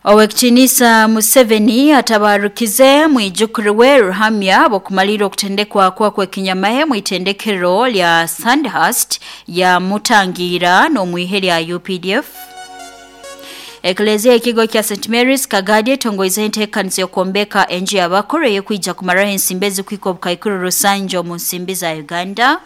Owekitinisa Museveni atabarukize mwijukuru we Ruhamya bokumalira okutendekwa kwa kwekinyamahe mwitendekero lya Sandhurst ya Mutangira n'omwihe lya UPDF. Eklezia ekigo kya St Mary's Kagadi etongoize enteekaniza y'okwombeka enju y'abakuru ey'okwija kumaraho ensimbi ezikuhika obukaikuru rusanju omu nsimbi za Uganda.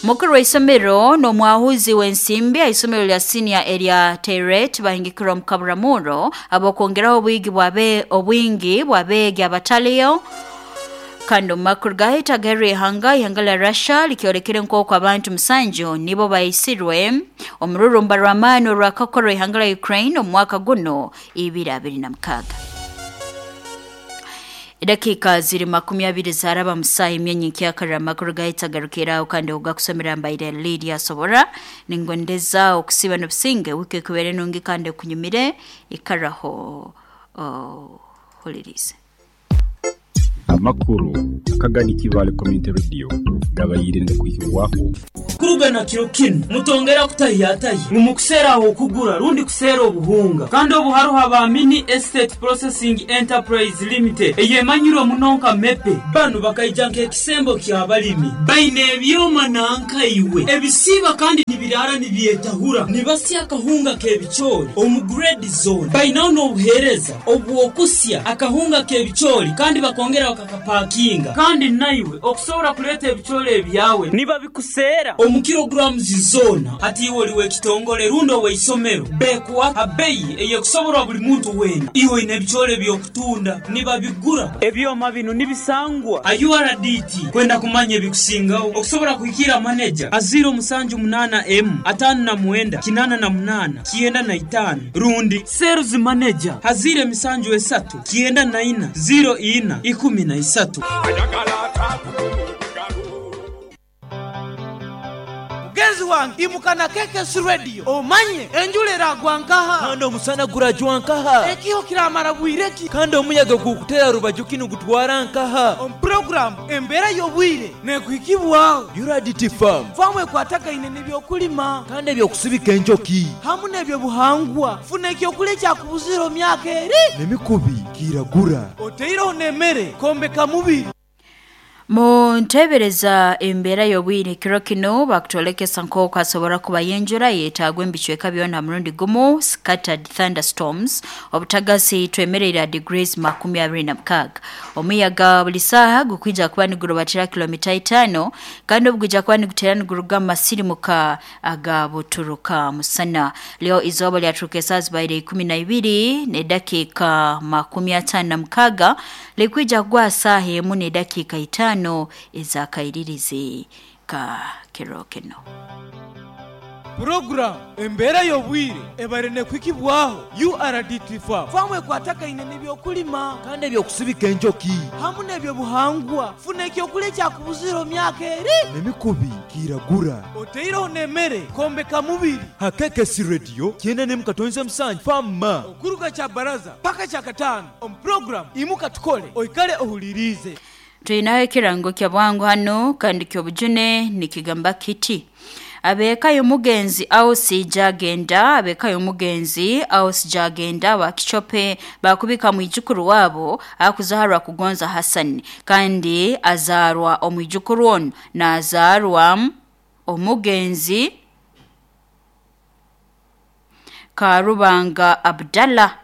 Mukuru w'isomero n'omwahuzi w'ensimbi aha isomero lya senior erya Teret bahingikirwa omu Kaburamuro ab'okwongeraho obwigi bwabe obwingi bw'abeegi abataliyo. Kandi omu makuru gahita ag'erihanga, ihanga lya Russia likyolekere nk'oku abantu 7 nibo baisirwe omururumba rw'amaani orwakakorwa ihanga lya Ukraine omu mwaka guno 2026. Edakiika ziri 20 zaraba musaha emyenyi nkyakarra amakuru gahita agarukiraho kandi ogakusomera mbaire Lydia Sobora ningondeza okusiba n'obusinge wiki ekubere nungi kandi ekunyumire ikaraho ohulirize. Amakuru akagani Kibaale Community Radio gabaire nigakwihibwaho. Kuruga na kiro kinu, mutongera kutahiyatahya ngu mukuseera ah'okugura rundi kuseera obuhunga. Kandi obu haroho aba Mini Estate Processing Enterprise Limited eyemanyirwe muno nka MEPE. Banu bakaija nk'ekisembo ky'abalimi. Baine ebyoma nanka iwe ebisiiba kandi nibiraara nibyetahura. Nibasya akahunga k'ebicoori omu grade zoona. Bainaho n'obuheereza obw'okusya akahunga k'ebicoori kandi bakongera bakakapakinga. Kandi naiwe okusobora kuleeta ebicoori ebyawe nibabikuseera omu kilograms zoona. Hati iwe oli w'ekitongole rundi ow'eisomero, bekuha ha beyi ey'ekusoborwa buli muntu weena. Iwe oine ebicoori eby'okutunda, nibabigura. Ebyoma binu nibisangwa ha URDT. Kwenda kumanya ebikusingaho, okusobora kuhikiira maneja ha 078 emu 59 88 95 rundi Sales Manager ha 073 94 04 13. Mugenzi wange imuka na KKS Radio omanye enjura eragwa nkaha. Kandi omusana gurajwa nkaha. Ekiho kiramara bwire ki. Kandi omuyaga gukutera rubaju ki nigutwara nkaha. Omu puroguramu Embeera y'obwire nekuhikibwaho. URDT Farm. Faamu ekwatagaine n'ebyokulima. Kandi eby'okusibika enjoki. Hamu n'ebyobuhangwa. Funa ekyokulya ekyakubuzire omu myaka eri. N'emikubi kiragura. Oteireho n'emere kwombeka mubiri. Mu nteebereza embeera y'obwire kiro kinu bakutwolekesa nk'oku hasobora kubayo enjura eyetaagwa omu bicweka byona ha murundi gumu scattered thunderstorms obutagasi twemereire ha degrees 26. Omuyaga buli saaha gukwija kuba nigurubatira kilomita 5 kandi obugwija kuba niguteera niguruga mu masirimuka aga buturuka musana. Lyo izooba lyaturuka esaaha zibaire 12 n'edakiika 56 likwija kugwa saaha 1 n'edakiika 5 ez'akairirizi ka kiro kinu. Puroguramu Embeera y'Obwire ebaire nekuhikibwaho URDT Farm. Faamu ekwatagaine n'ebyokulima. Kandi eby'okusibika enjoki. Hamu n'ebyobuhangwa. Funa ekyokulya ekyakubuzire omu myaka eri. N'emikubi kiragura. Oteireho n'emere kwombeka mubiri. Ha KKC Radio 97.7 Farm. Okuruga Kyabaraza paka Kyakataano omu puroguramu Imuka Tukole oikale ohuliriize. Twinaho ekirango kya bwangu hanu kandi ky'obujune nikigamba kiti: Ab'eka y'omugenzi Ausi Jagenda, ab'eka y'omugenzi Ausi Jagenda wa Kichope bakubika mwijukuru wabo akuzaarwa Kugonza Hassan kandi azaarwa omwijukuru onu nazaarwa omugenzi Karubanga Abdallah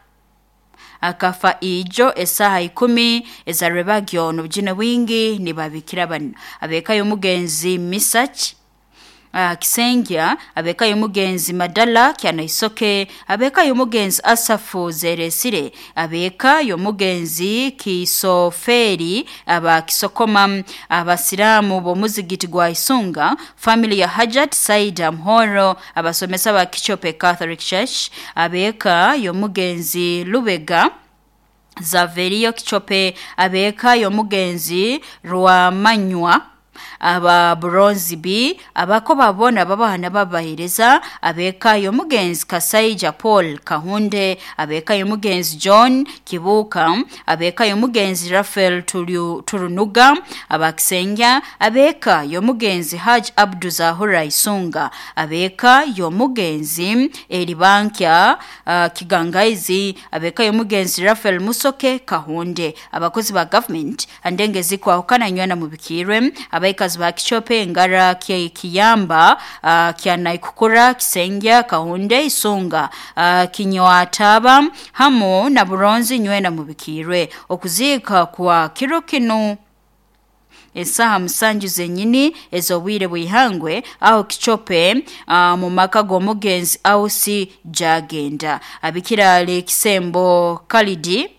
akafa ijo esaaha 10 ezarwebagyo n'obujune bwingi nibabikira banu. Ab'eka y'omugenzi Misach Kisengya, ab'eka y'omugenzi Madala Kyanaisoke, ab'eka y'omugenzi Asafu Zeresire, ab'eka y'omugenzi Kisoferi aba Kisokoma, abasiraamu b'omuzigiti gwa Isunga, family ya Hajat Saida Muhoro, abasomesa ba Kichope Catholic Church, ab'eka y'omugenzi Lubega Zaverio Kichope, ab'eka y'omugenzi Rwamanywa Aba Bronze B, abakoba bona babahana babahereza, abeka y'omugenzi Kasaija Paul Kahunde, abeka y'omugenzi John Kibuka, abeka y'omugenzi Rafael Turunuga, abakisengya, abeka y'omugenzi Haj Abdu Zahura Isunga, abeka y'omugenzi Elibankya Kigangaizi, abeka y'omugenzi Rafael Musoke Kahunde, abakozi ba government andenge zikwahukana nywana mubikirwe, abaikazi ba Kichope Ngara Kiyamba, Kyanaikukura Kisengya Kahunde Isunga, Kinyoataba hamu na Buronzi nywena mubikirwe. Okuzika kwa kiro kino esaha 7 zenyini ezobwire bwihangwe aho Kichope, mu maka g'omugenzi Ausi Jagenda. Abikirale Kisembo Kalidi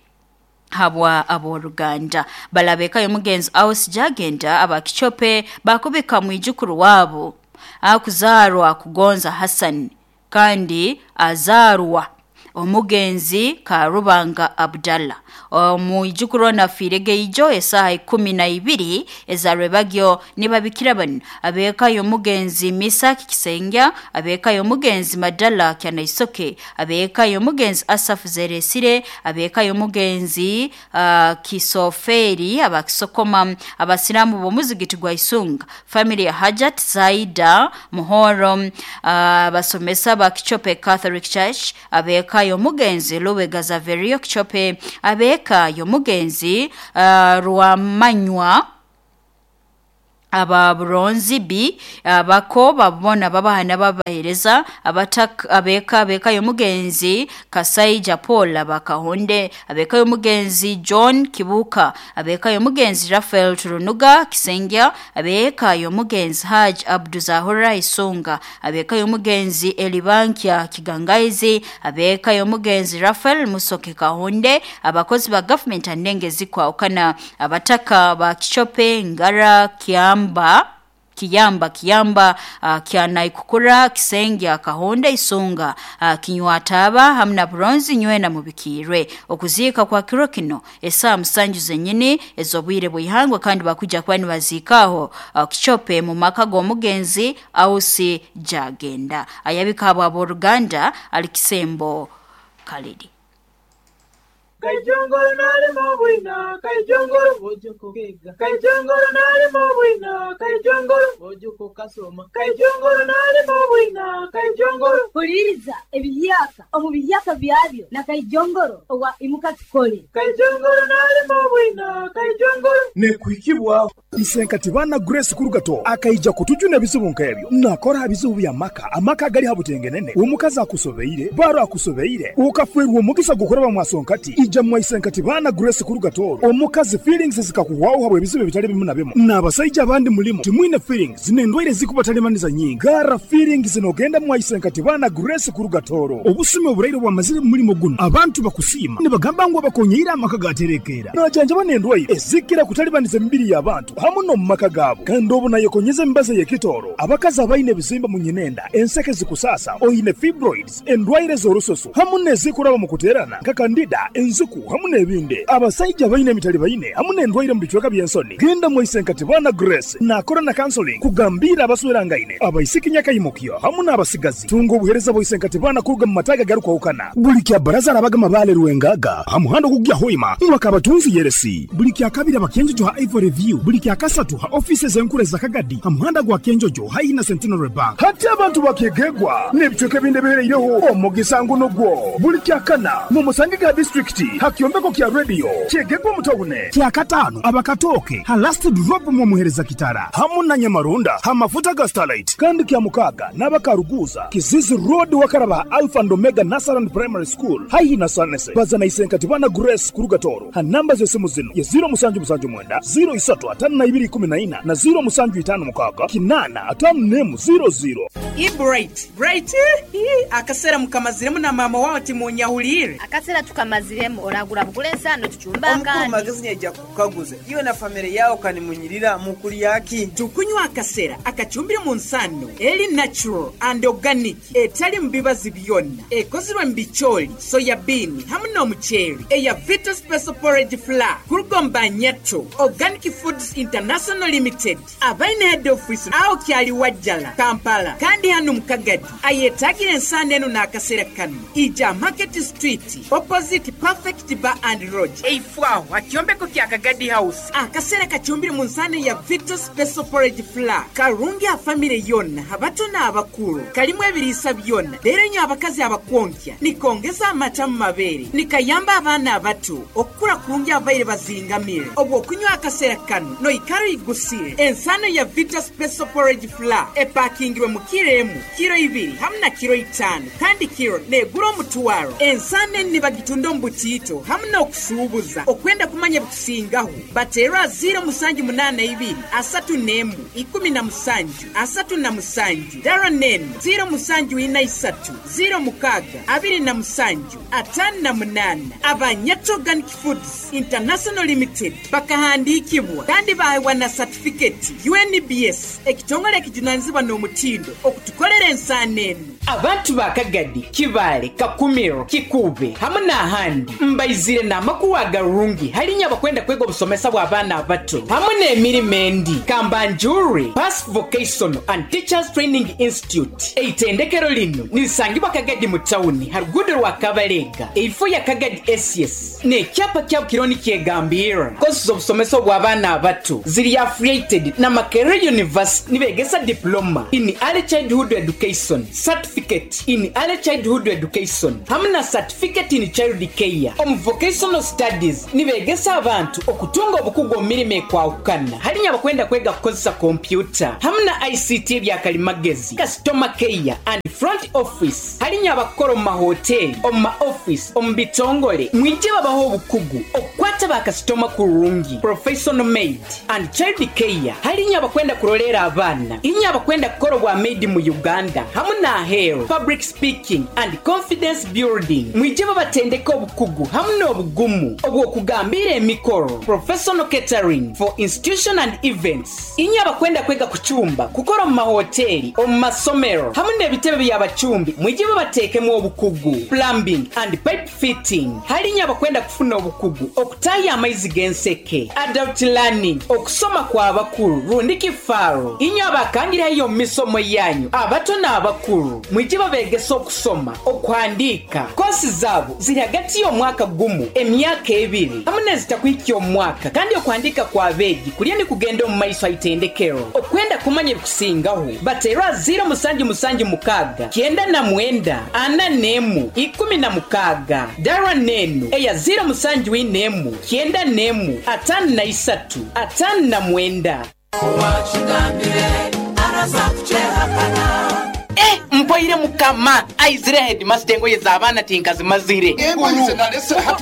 habwa aboruganda balabeka y'omugenzi Ausi Jagenda aba Kichope bakubika mwijukuru wabo akuzarwa Kugonza Hassan kandi azarwa omugenzi Karubanga Abdallah. Omwijukuru nafirege ijo esaha 12 ezarwebagyo nibabikira bano abeka y'omugenzi Misaki Kisengya, abeka y'omugenzi Madala Kyanaisoke, abeka y'omugenzi Asaf Zeresire, abeka y'omugenzi Kisoferi abakisokoma, abasiramu b'omuzigiti gwa Isunga, family ya Hajat Zaida Muhoro, abasomesa ba Kichope Catholic Church, abeka y'omugenzi Lubega Zaverio Kichope, abeka y'omugenzi Rwamanywa aba Bronze B, abako babona babahana babahereza, abeka abeka y'omugenzi Kasaija Paul abakahonde, abeka y'omugenzi John Kibuka, abeka y'omugenzi Rafael Turunuga Kisengya, abeka y'omugenzi Haj Abduzahura Isunga, abeka y'omugenzi Elibankya Kigangaizi, abeka y'omugenzi Rafael Musoke Kahonde, abakozi ba government andenge zikwahukana, abataka ba Kichope Ngara Kiyamba Kiyamba, Kyanaikukura Kisengya Kahonda Isunga, Kinywataba hamna Bronze nywena mubikirwe. Okuzika kwa kiro kino esaha 7 zenyini ezobwire bwihangwe kandi bakuja kwani bazikaho Kichope mu maka g'omugenzi Ausi Jagenda. Ayabika aboruganda alikisembo Kalidi. Kaijongoro nalimo bwina, kaijongoro ojoko kega. Kaijongoro nalimo bwina, kaijongoro ojoko kasoma. Kaijongoro nalimo bwina, kaijongoro. Huliriza ebiyaka omu biyaka byabyo na kaijongoro owa imuka tukole. Kaijongoro nalimo bwina, kaijongoro. Nekuhikibwa Isenkati bana Grace Kurugato akaija kutujuna ebizibu nkebyo nakora ebizibu bya maka amaka gali habutengenene omukazi akusobeire baro akusobeire ukafwerwa omugisa gukoraba mwasonkati ija mwaisenkati bana Grace Kurugato omukazi feelings zikakuwaho habwe ebizibu bitali bimu na bimu n'abasajja abandi mulimo timwine feelings n'endwaire zikubatalimaniza nyingi gara feelings nogenda mwaisenkati bana Grace Kurugatoro obusime oburaire bwamazire mulimo guno abantu bakusiima nibagamba ngu abakonyeira amaka gaterekera najanjaba n'endwaire ezikira kutalibaniza emibiri y'abantu hamu no mumaka gaabo kandi obu nayekonyeza emibazi ey'ekitooro abakazi abaine ebizimba mu nyinenda enseke zikusasa oine fibroids endwaire z'orususu hamu n'ezikuraba mu kuteerana nka kandida enziku hamu n'ebindi abasajja baine emitali baine hamu n'endwaire mu bicweka by'ensoni genda mwaisenkati bana Grace nakora na counseling kugambira abaswerangaine abaisiki nyakayimukyo hamu n'abasigazi tunga obuhereza bwaisenkati bana kuruga mu mataga garukwahukana buli kya baraza arabaga mabale rwengaga hamuhando kugya hoima mwakabatunzi yeresi buli kya kabiri abakenjojo ha Ivory View buli kya kasatu ha offices enkuru za Kagadi hamuhanda gwa Kenjojo haina Centenary Bank hati abantu bakegegwa n'ebicweka ebindi bihereireho omugisa nguno gwo buli kya kana mu musange ga district hakyombeko kya radio kyegegwa mutawune kya katano abakatoke ha last drop mu muhereza kitara hamu na Nyamarunda ha mafuta ga Starlight kandi kya mukaga n'abakaruguza Kizizi Road wakaraba Alpha and Omega Nasaran Primary School haina sanese bazana isenkati bana Grace Kurugatoro ha namba z'esimu zino ya 0779 03 5214 na 0756 8 500. Bright Bright akasera mukamaziremu na mama wawe timunyahulire akasera tukamaziremu Emirimu oragura bugura ensaano tucumbe Omukuru akandi. Magezi nyaija kukukaguza iwe na famire yawe kanimunyirira mukulyaki? Tukunywa akasera akacumbire mu nsano eri natural and organic, etali mu bibazi byonna, ekozirwe mu bicooli, soya bean hamu n'omuceeri, eya Vito Special Porridge Flour kuruga Nyato Organic Foods International Limited, abaine head office aho kyali Wajjala, Kampala, kandi hano mu Kagadi. Ayetagira ensano eno n'akasera kano, ija Market Street opposite Perfect Bar and Lodge, eifwaho akyombeko kya Kagadi House. Akasera kacumbire mu nsano ya Vito Special Porridge Flour karungi a famire yonna, abato n'abakulu. Kalimu ebiriisa byonna, leero nyo abakazi abakwonkya, nikongeza amata mu mabeere, nikayamba abaana abato okukula kurungi abaire bazingamire. Obwo okunywa akaseera kano noikara igusire. Ensano ya Vita Special Porridge Flour epakingirwe mu kiro emu, kiro 2 hamu na kiro 5, kandi kiro negura omutwaro. Ensano eni nibagitunda omu butiito hamu n'okusuubuza. Okwenda kumanya bikusingaho, bateerwa 0782 31 17 37, dara nenu 0743 06 27 58. Abanyato Organic Foods International Limited bakahandikibwa kandi baheebwa na satifiketi UNBS, ekitongole ekijunanizibwa n'omutindo okutukolera ensaano enu. Abantu ba Kagadi, Kibaale, Kakumiro, Kikuube hamu n'ahandi mbaizire n'amakuru agarungi halinya abakwenda kwega obusomesa bw'abaana abato hamu n'emirimo endi. Kambanjure Pass Vocational and Teachers Training Institute, eitendekero lino nirisangibwa Kagadi mu tawuni ha ruguudo rwa Kabalega, eifo ya Kagadi SS, n'ekyapa kyabo kiriho nikyegambirra. Kosi z'obusomesa obw'abaana abato ziri affiliated na Makerere University, nibegesa diploma in early childhood education, certificate in early childhood education hamu na certificate in child care. Omu vocational studies nibegesa abantu okutunga obukugu omu mirimo ekwahukana, halinya abakwenda kwega kukozesa kompyuta hamu na ICT ebyakalimagezi, customer care and front office, halinya abakukora omu mahoteri, omu ma office, omu bitongole, mwije babaho obukugu okukwata bakasitoma kurungi, professional maid and child care, halinya abakwenda kurolera abaana, inya abakwenda kukora obwa maid mu Uganda hamu n'aheeru, public speaking and confidence building, mwije babatendeka obukugu hamu n'obugumu obw'okugambira emikoro, professional catering for institution and events, inya abakwenda kwega kucumba, kukora omu mahoteri, omu masomero hamu n'ebitebe by'abacumbi, mwije babateekemu obukugu, plumbing and pipe fitting, halinya abakwenda kufuna obukugu okutaya amaizi g'enseke, adult learning, okusoma kw'abakulu rundi kifaaro, inya abakangirayo omu misomo yanyu abato n'abakulu, mwije babegesa okusoma, okuhandiika. Kosi zaabo ziri hagati y'omwaka gumu, emyaka 2 hamu n'ezitakuhikya omwaka, kandi okuhandiika kw'abeegi kulya nikugenda omu maiso aitendekero. Okwenda kumanya ebikusingaho, bateerwa 0776 99 41 16, dara nenu eya 0741 91 53 59. Mpoire mukama aizire headmaster, engoye z'abaana tinkazimazire.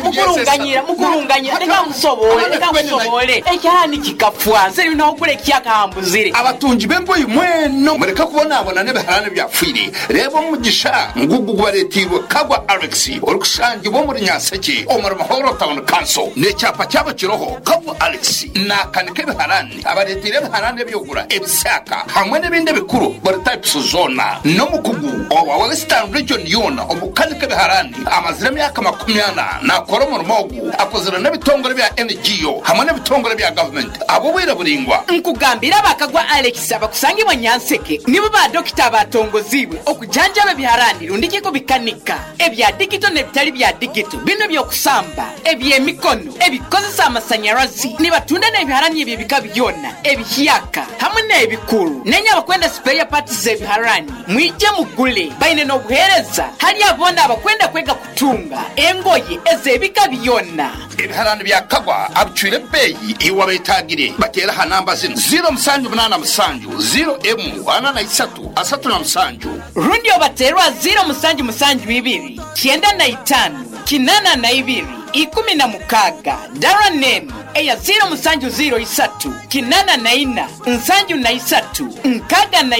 Mukurunganyira, mukurunganyira, leka nkusobole, leka nkusobole. Ekyalani kikafwa, nze nogula ekyakahambuzire. Abatungi b'engoyi mweno mureke kubonabona n'ebiharani byafwire. Reba omugisha ngugu gubaretiirwe Kagwa Alex orikushangibwa omuri Nyanseke omuri Mahoro Town Council, n'ekyapa kyabo kiroho Kagwa Alex nakanika ebiharani, abaretire ebiharani ebyogura ebisaka hamwe n'ebindi ebikuru buri types zona, n'omukugu owa Western Region yona omukanika ebiharani, amazire emyaka 40 nakora omurimo ogu, akozire n'ebitongore bya NGO hamwe n'ebitongore bya government abo bwire buringwa. Nkugambira abakagwa Alex abakusangibwa Nyanseke nibo ba dokita abatongozibwe okujanjaba ebiharani rundi kikubikanika, ebya digito n'ebitali bya digito, bino by'okusamba, eby'emikono, ebikozesa amasanyarazi, nibatunda n'ebiharani eby'ebika byona, ebihyaka hamwe n'ebikuru. Nenya abakwenda spare parts z'ebiharani, mwije mugule, baine n'obuheereza hali abona abakwenda kwega kutunga engoye ez'ebika byona. Ebiharani bya Kagwa abicwire ebbeeyi iwe betagire, batera ha namba zino 0787 0 M 43 37, rundi obaterwa 0772 95 82 16, dara nenu eya 0703 84 73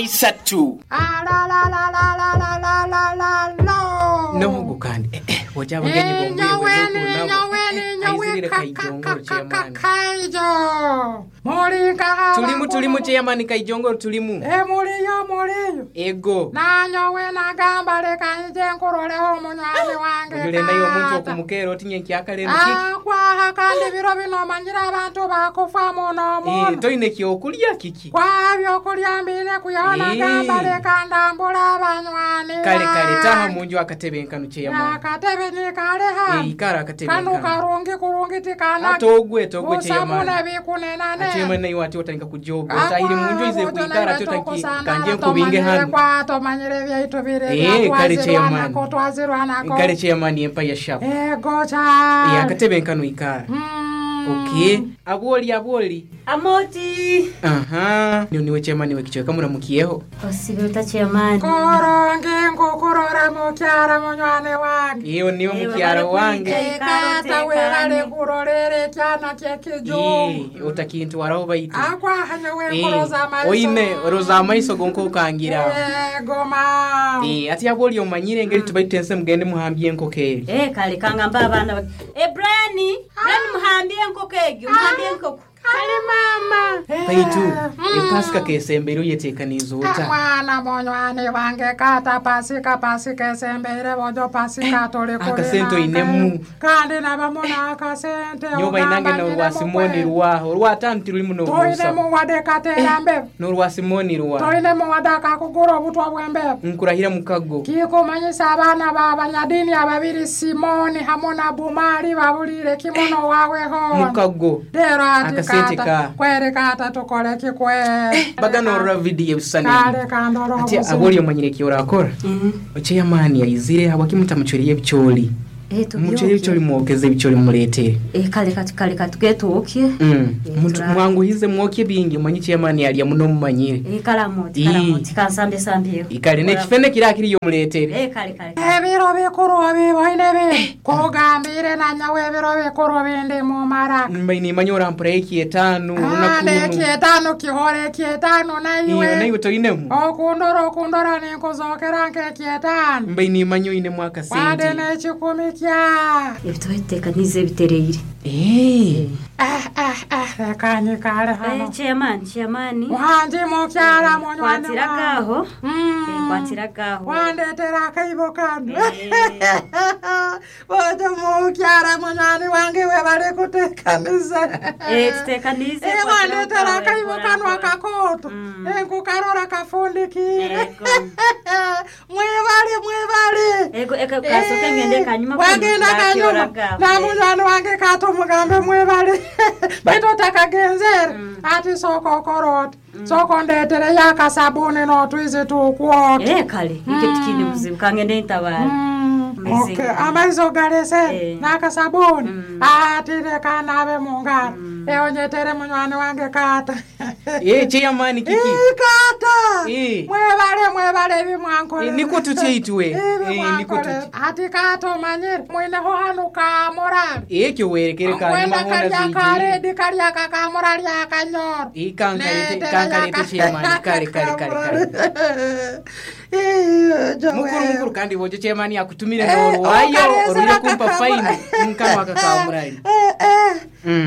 63. Noho. Ego kandi eh, eh, boja abagenyi Ninyowe, bongwire nabo ninyowe, ninyowe, aizirire Kaijongoro chairman. Kaijo mulinkaha Tulimu tulimu chairman Kaijongoro tulimu. Emuliyo muliyo. Ego. Nanyowe nagamba leka nje nkuroleho munywani wange. Ojule nayo omuntu okumukera otinye nkyakale kiki. Akwaha kandi biro bino omanyire abantu bakufa muno muno. Eh, toine kyokulya kiki? Kwa byokulya mbine kuyona Eh. gamba leka ndambula abanywani. Kale kale taha munju akatebe nkanu chairman. Akatebe nyikale hano. Eh, ikara akatebe Kanu nkanu. karungi kurungi tikana. Ate ogwe togwe chairman. Busabune bikunenane. Chairman nayo ati otandika kujoga. Otahire munju ize kuikara ati otanki kanje nkubinge hano. Kwatomanyire byaitu bire. Eh, kale chairman. Twazirwanako. Kale chairman empire sharp. Ego cha. Eh, akatebe nkanu ikara. Okay. Abwoli abwoli. Amoti. Aha. Niwe niwe chairman wekichweka muramukiyeho. Osibe chairman. Korongi nkukurora mukyara munywani wange. Iyo niwe mukyaro wange. Kata webale kurorera ekyana kyekijungu. Eh, otakintwaraho baitu. Akwaha nyowe Eh, nkuroza amaiso. oine roza amaiso gonka okangira. Ego ma. Eh, ati abwoli omanyire engeri tubaitense mugende muhambye enkoko eri. Eh, kale kangamba abaana Eh, Brian, Brian muhambye enkoko egyo, muhambye enkoko. Kale mama. Baitu epasika kesembere oyetekaniza ota. Mwana munywani wange kata pasika pasika esembere bojo pasika tuli Akasente oinemu. Kandi nabamu n'akasente. Nyoba bainange n'orwa Simoni rwaho. Orwa tano tirulimu n'obusa. Toinemu wadde kateera mbebe. N'orwa Simoni rwa. Toinemu wadde akakugura obutwa bw'embebe. Nkurahira mukago. Kikumanyisa abaana b'abanyadini ababiri Simoni hamu na Bumali babulire kimuno waweho. Mukago. Lero ati Akasente kata ka. kweri kata tukole kikwe. Bagana orora vidiyo ebisani. Kale kandora Ati obuzibu. abwoli omanyire kyorakora. Chairman yaizire habwaki mutamuchweriye ebicholi. Eh, Muchweriye ebicholi mwokeze ebicholi muletere. Eh, kale katu kale katugetwoke. Mwanguhize mwokye bingi omanyi chairman yalya muno mumanyire. Eh, kale amoti, Ii. kale amoti, kansambe sambyeho. Ikale n'ekifene kiri akiriyo muletere. Eh, kale kale. Ebiro bikuru biboine bindi kugambire nanyawe ebiro bikuru bindi mumara. Mbaine nimanya orampura ekyetaano olunaku Ande luno. ekyetaano kihora ekyetaano Iyo naiwe. naiwe toinemu. Okundora okundora ninkuzokera nk'ekyetaano. Mbaine nimanya oinemu Wade akasente. n'ekikumi kya. Ebitubaiteekaniza ebitereire. Eh. Leka nyikale hano. Eh, chairman, chairman. Wangi mukyala munywani wange. Kwatiragaho. Eh, kwatiragaho. Wandetera akaibo kano. Bojo mukyala munywani wange we bali kuteekaniza. Eh, tuteekanize. Eh, wandetera akaibo kano akakooto. Nkukarora kafundikire. Mwebale mwebale. Ego eko kasoke ngende kanyuma. Wagenda kanyuma. Na munywani wange katumugambe mwebale. Baitu otakagenzere. Ati sooka okora oti. Sooka ondeetereyo akasabuni n'otwizi tukwota. Eh, kale. Ike tikine buzibu kangende ntabara. Okay, amaizi ogalese n'akasabuni ati leka naabe mu ngalo eonyetere munywani wange kata. Eh, chairman kiki. Kata. Eh. Mwebale mwebale ebimwankolera. Eh, niko tutyeitwe. Ebi Eh, niko mwankolera. Ati kata omanyire mwineho hanu kamurali. Ekyo werekere kanyuma Kwenda hona kalya zijire. karedi kalya kakamurali akanyoro. Eh, kankalete kankalete chairman kale kale kale kale. Mukuru mukuru kandi bojo chairman akutumire n'orwayo okalezera orwire kumpa fine nkama akakamurali.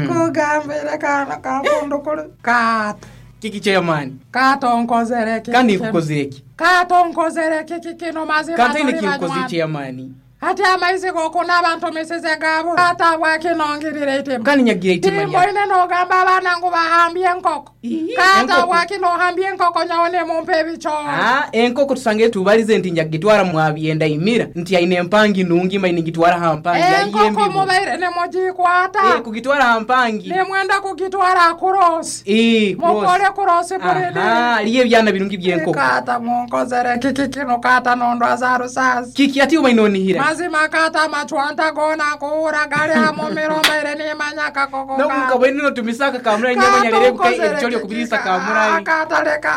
Kugambire kana kafundukulu. Kata. Kiki chairman. Kata onkozere kiki. Kandi nkukozire ki? Kata onkozere kiki kino mazima Kandi tuli kinkozi banywani. chairman. Ati amaizi gokunaaba ntumisize gabo. Kata bwakinongirire itima. Kandi nyagira itima lya. Timboine nogamba abaana ngu bahambye enkoko. Kata enkoko. bwakinohambye enkoko nyawe nemumpa ebicoori. Ah, enkoko tusange tubalize nti njagitwara mwabyenda imira nti aine empangi nungi maine ngitwara hampangi Enkoko aliye mubaire nemugikwata. Eh, kugitwara hampangi. Nemwenda kugitwara kurosi. Eh, cross. Mukole kurosi bulidi. Aha, aliye ebyana birungi by'enkoko. Kata munkozere kiki kino kata nondwaza rusazi. Kiki ati obainonihira. Mazima kata machwanta gona kuura gali hamumiro mbaire nimanya kakoko Nomuka bwene notumisaka kamurali nyamanya buka ebicholi okubirisa kamurali. Akataleka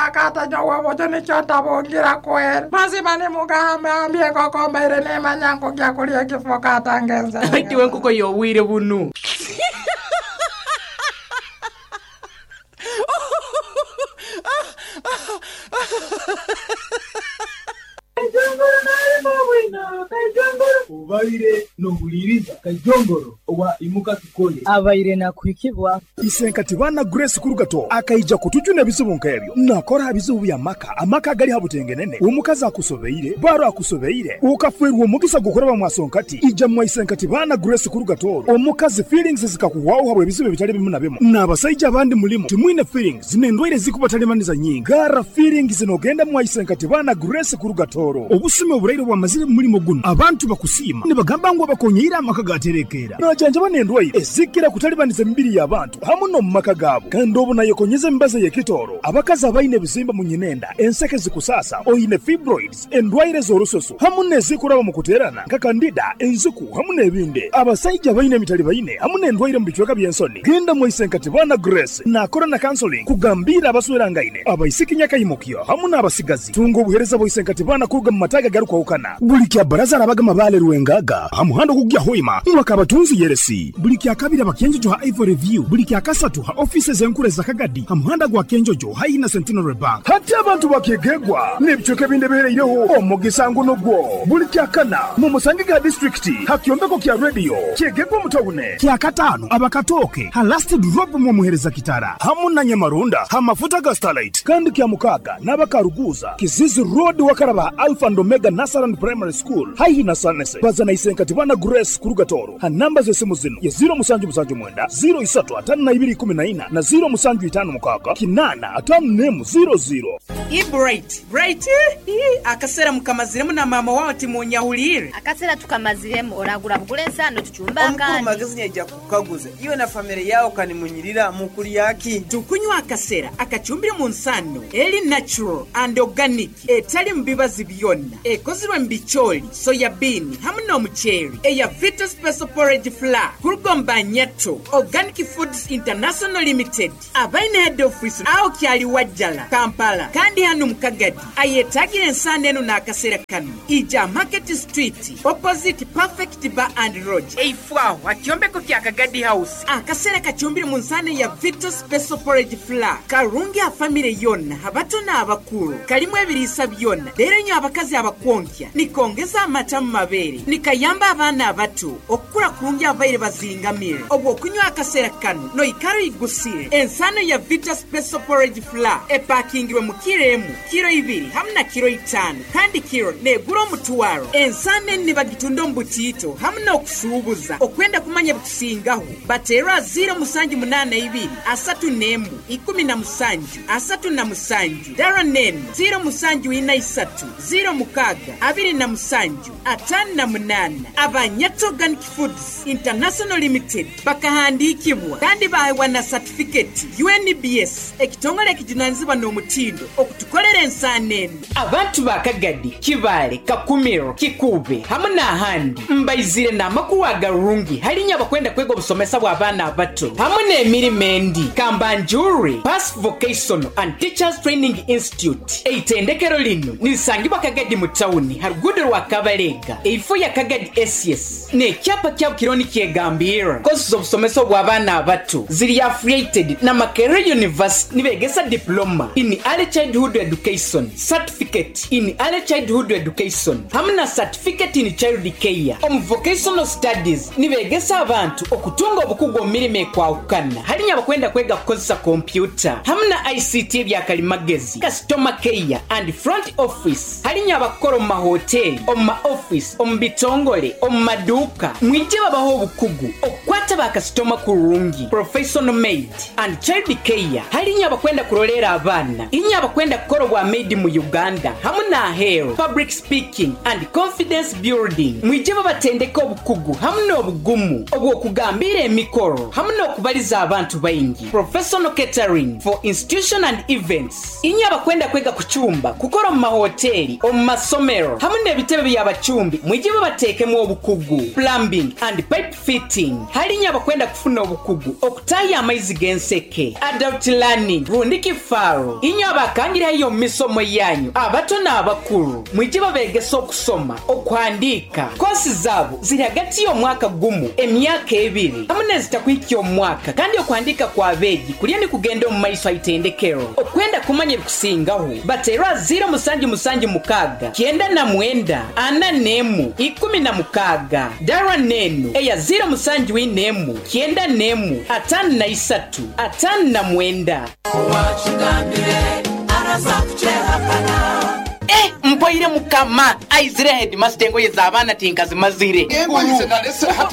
akata nyowe bojo nikyo ntabungira kweri. Mazima nimugambe ambye enkoko mbaire nimanya nkugya kulya ekifo kata ngenze. Itiwe enkoko yobwire bunu. Kaijongoro nalimo bwino, kaijongoro. Obaire nohuliriza Kaijongoro owa Imuka Tukole. Abaire nakuhikibwa. Isenkati bana Grace Kurugato akaija kutujuna ebizibu nk'ebyo. Nakora ebizibu bya maka, amaka gali habutengenene. Omukazi akusobeire, baro akusobeire, ukafwerwa omugisa gukoraba mwasonkati. Ija mwa Isenkati bana Grace Kurugato. Omukazi feelings zikakuwaho habwe ebizibu ebitali bimu na bimu. N'abasajja abandi mulimu timwine feelings n'endwaire zikubatalimaniza nyingi. Gara feelings zinogenda mwa Isenkati bana Grace Kurugatoro. Obusime oburaire bwamazire mu mulimo guno. Abantu bakusiima nibagamba ngu abakonyeire amaka gaterekeera. Najanjaba n'endwaire ezikira kutalibaniza emibiri y'abantu hamu n'omu maka gaabo. Kandi obu nayekonyeza emibazi ey'ekitooro. Abakazi abaine ebizimba mu nyinenda, enseke zikusasa, oine fibroids, endwaire z'orususu hamu n'ezikuraba mu kuteerana nka kandida, enziku hamu n'ebindi. Abasajja baine emitali baine hamu n'endwaire mu bicweka by'ensoni. Genda mu Isenkati bana Grace nakora na counseling kugambira abaswerangaine, abaisiki nyakaimukyo hamu n'abasigazi. Tunga obuhereza bwa Isenkati bana kuruga mu mataga garukwahukana. Buli kya baraza arabaga mabale Rwengaga ha muhanda ogugya Hoima mwaka abatunzi yeresi. Buli kya kabiri abakenjojo ha Ivory View, buli kya kasatu ha offices enkuru za Kagadi ha muhanda gwa Kenjojo haina Centenary Bank. Hati abantu bakegegwa n'ebicweka ebindi ebihereireho omugisa ngu nugwo. Buli kya kana mu Musange ga district ha kyombeko kya radio kyegegwa mutawune. Kya katano abakatoke ha last drop mu muhereza kitara hamu na Nyamarunda ha mafuta ga Starlight. Kandi kya mukaga n'abakaruguza Kizizi Road wakaraba Alpha and Omega Nasaran Primary School haihi na Sanese. Bazana Isenkati bana Grace Kurugatoro ha namba z'esimu zino ya 0779 03 5214 na 0756 8 5 00. I bright bright akasera mukamaziremu na mama wawe timunyahulire. Akasera tukamaziremu oragura bugule ensano tuchumba Omukuru akandi. magezi nyaija kukaguza iwe na family yao kanimunyirira mukuli yaki. Tukunywa akasera akachumbire mu nsano eri natural and organic etali mu bibazi byonna ekozirwe mu bicholi soya bean hamu n'omuceeri eya Vita Special Porridge Flour kurugomba Nyato Organic Foods International Limited abaine head office aho kyali Wajjala Kampala kandi hano mu Kagadi ayetagire ensano eno n'akasera kano ija Market Street opposite Perfect Bar and Lodge eifwaho akyombeko kya Kagadi House. Akasera kachumbire mu nsano ya Vita Special Porridge Flour karungi a family yonna abato n'abakulu kalimu ebiriisa byonna leero nnyo abakazi abakwonkya nikongeza amata mu mabeere nikayamba abaana abato okukula kurungi abaire bazingamire obwo okunywa akaseera kano noikara igusire. Ensano ya Vita Special Porridge Flour epakingirwe mu kiro emu, kiro ibiri hamu na kiro 5 kandi kiro negura omutwaro. Ensano eni nibagitunda omu butiito hamu n'okusuubuza. Okwenda kumanya bikusingaho bateerwa 0782 31 17 37 dara nenu 0743 06 27 58. Abanyato Organic Foods International Limited bakahandikibwa kandi bahewa na certificate UNBS ekitongole ekijunanizibwa n'omutindo okutukolera ensaano eno. Abantu ba Kagadi, Kibaale, Kakumiro, Kikuube hamu n'ahandi mbaizire n'amakuru agarungi halinya abakwenda kwega obusomesa bw'abaana abato hamu n'emirimo endi. Kambanjure Pass Vocational and Teachers Training Institute eitendekero lino nirisangibwa Kagadi mu tawuni ha ruguudo rwa Kabalega eifo ya Kagadi SS n'ekyapa kyabo kiriho nikyegambira. Kosi z'obusomesa obw'abaana abato ziri affiliated na Makerere University nibegesa diploma in early childhood education, certificate in early childhood education hamu na certificate in child care. Omu vocational studies nibegesa abantu okutunga obukugu omu mirimo ekwahukana halinya abakwenda kwega kukozesa kompyuta hamu na ICT ebyakalimagezi, customer care and front office halinya abakukora omu mahoteli, omu ma office, omu bitongole, omu maduuka. Mwije babaho obukugu okukwata bakasitoma kurungi, professional maid and child care halinya abakwenda kurolera abaana, inya abakwenda kukora obwa maid mu Uganda hamu n'aheeru, public speaking and confidence building. Mwije babatendeka obukugu hamu n'obugumu obw'okugambira emikoro hamu n'okubaliza abantu baingi, professional catering for institution and events. Inya abakwenda kwega kuchumba, kukora mu mahoteli, omu masomero hamu n'ebitebe by'abachumbi. Mwije babateekemu obukugu, plumbing and pipe fitting halinya abakwenda kufuna obukugu okutaayo amaizi g'enseke, adult learning rundi kifaaro. Inywe abakangire haihi omu misomo yanyu, abato n'abakuru, mwije babeegese okusoma, okuhandiika. Koosi zaabo ziri hagati y'omwaka gumu, emyaka ebiri hamu n'ezitakuhikya omwaka kandi okuhandiika kw'abeegi kuriyo nikugenda omu maiso ha itendekero. Okwenda kumanya ebikusingaho, bateerwe aha 0776 99 41 16. Darwa n'enu eya 0741 91 53 59. Eh! Mpoire Mukama! Aizire heedimasita engoye z'abaana tinkazimazire.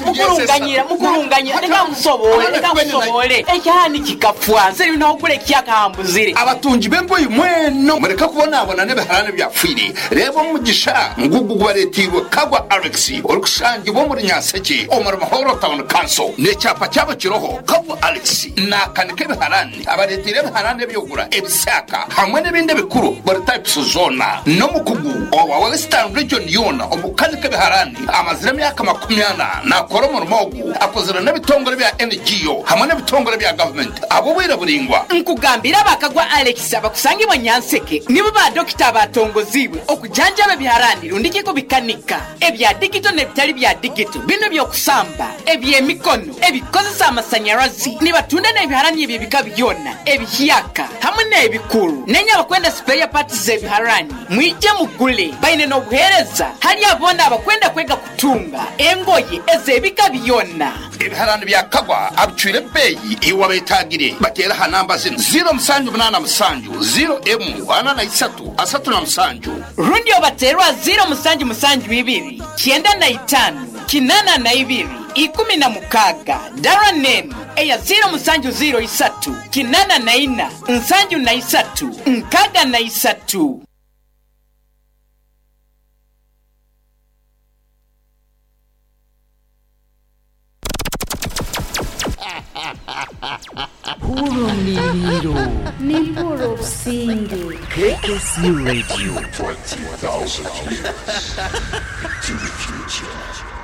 Mukurunganyira, mukurunganyira, leka nkusoboole, leka nkusoboole. Ekyahani kikafwa, nze n'ogula ekihyaka hambuzire. Abatungi b'engoye mwena mureke kubonabona n'ebiharani ebyafwire. Reeba omugisha ngugu gubareeteirwe Kagwa Alex orikushangibwa omuri Nyanshekye omuri Muhorro Town Council. N'ekyapa kyabo kiroho Kagwa Alex naakanika ebiharani. Abareeteire ebiharani eby'ogura, ebisaaka hamwe n'ebindi ebikuru buri types zoona. N'omukugu owa Western Region yoona omu kukanika ebiharani. Amazire emyaka 40 naakora omurimo ogu. Akozire n'ebitongore bya NGO hamwe n'ebitongore bya gavumenti ahabw'obwire buraingwa. Nkugambire aba Kagwa Alex abakusangibwa Nyanseke nibo ba dokita abatongoziibwe okujanjaba ebiharani rundiki kubikanika, ebya digito n'ebitali bya digito, binu eby'okusamba, eby'emikono, ebikukozesa amasanyarazi. Nibatunda n'ebiharani eby'ebika byona, ebihyaka hamu n'ebikuru. Nenye abakwenda sipeya paati z'ebiharani, mwije mugule. Baine n'obuheereza hali abo boona abakwenda kwega kutunga engoye ez'ebika byona. Ebiharani bya Kagwa abicwire ebeeyi iwe abeetaagire bateere aha namba zinu, 0787 0 43 37. Rundi obateerwe aha 0772 95 82 16. Dara n'enu eya 0703 84 73 63. Hurra omuliriiro. Nimpurra obusinge. KKC Radio. 20,000 years into the future.